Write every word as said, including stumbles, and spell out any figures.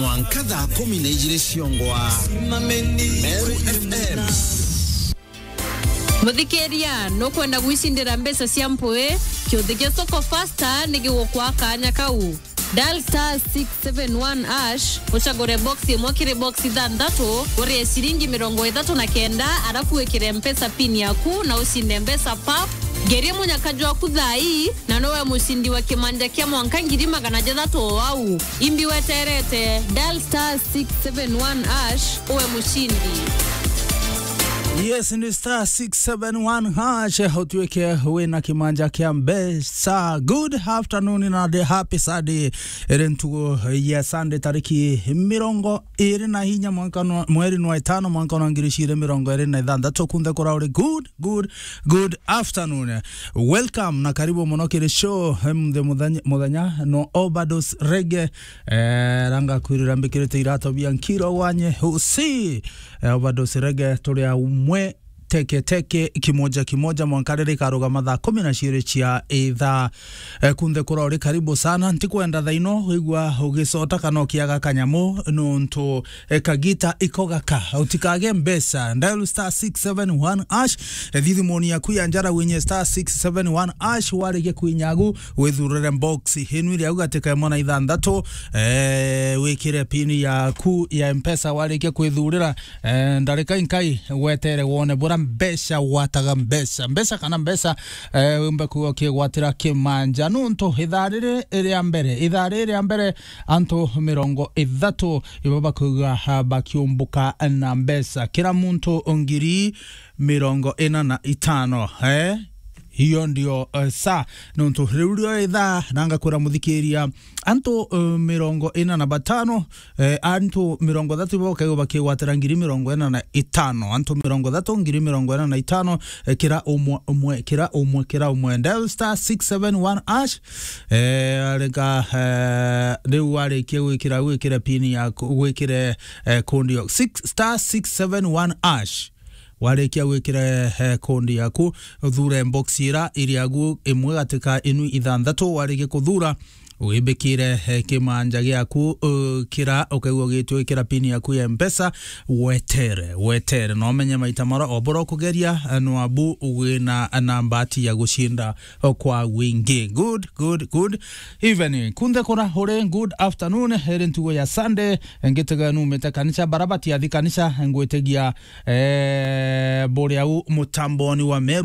Mwanka thaa kumi na ijiri ciongwa. Meru F M. Muthikiria, nukwenda gwicindira mbeca cia mpui? Kiuthi kia Soko Fasta ni gigukwa kanya kau. Dial star six seven one hash, ucagure box imwe kiri box ithanthatu, urie ciringi mirongo ithatu na kenda, arafu wikire mpesa pin yaku na ucinde mbeca pap. Ngerie munyaka jwaku thaa ii, na nowe mucindi wa kimanja kia mwanka ngiri magana jathatu o au. Imbi weterete, dial star six seven one hash, uwe mucindi. Yes, ni star six seven one hash, utuike wina kimanja kia mbeca. Good afternoon na the happy Sunday. Iri ntugu ya Sunday, tariki mirongo iri na inya mwanka nwa, mweri nwa itano, mwanka nwa ngiri ijiri mirongo iri na ithanthatu. Kunthe kura uri good, good, good afternoon. Welcome na karibu muno kiri show. Em, the muthenya, muthenya no Overdose Reggae. Eh, ranga kwirira mbikirite irato bia nkiro wanye usi. Eh, Overdose Reggae turi a umwe teke teke, kimoja kimoja, mwanka riria ikarugama thaa kumi na ciiri cia ithaa. Eh, kunthe kura uri karibu sana. Ntikwenda thaino wigua ugicota kana ukiaga kanyamu, nontu, eh, kagita iko gaka. Utikage mbeca. Dial star six seven one hash. Eh, thithimoni yaku ya njara winye star six seven one hash, warikia kwinyagu, withurire box inu iri au gatika imwe na ithanthatu, eh, wikire pin yaku ya mpesa. Warikia kwithurira, eh, ndarika inkai wetere wone bura mbeca wataga mbeca. Mbeca kana mbeca, eh, wimbe kuga ukigwatira kimanja. Nontu ithaa riri ria mbere, ithaa riri ria mbere, antu mirongo ithatu ibo bakuga, ah, bakiumbuka na mbeca. Kira muntu ngiri mirongo ina na itano, eh? Hiyo ndio, eh, saa. Nontu riu rio ithaa, na ngakwira muthikiria, antu, eh, mirongo ina na batano, eh, antu mirongo ithatu ibo bakaiwa bakigwatira ngiri mirongo ina na itano. Antu mirongo ithatu, ngiri mirongo ina na itano, eh, kira umwe, umwe, kira umwe, kira umwe. Dial star six seven one hash, eh, reka, eh, riu warikia gwikira, gwikire pin yaku, gwikire, eh, kundi yo six, star six seven one hash. Warikia gwikira, eh, kundi yaku, uthure box ira iri agu imwe gatika inu ithanthatu. Warikia kuthura, wibikire, eh, kimanja giaku, uh, kira ukaigua gitwikira pin yaku ya mpesa, wetere, wetere. Na umenye maita mara obora ukugeria, eh, nwabu wina na mbati ya gucinda kwa wingi. Good, good, good evening. Kunthe kura uri, good afternoon. Iri ntugo ya Sunday, ngitega numite kanisa, barabati athi kanisa, ngwitigia, eh, buri au mutamboni wa Meru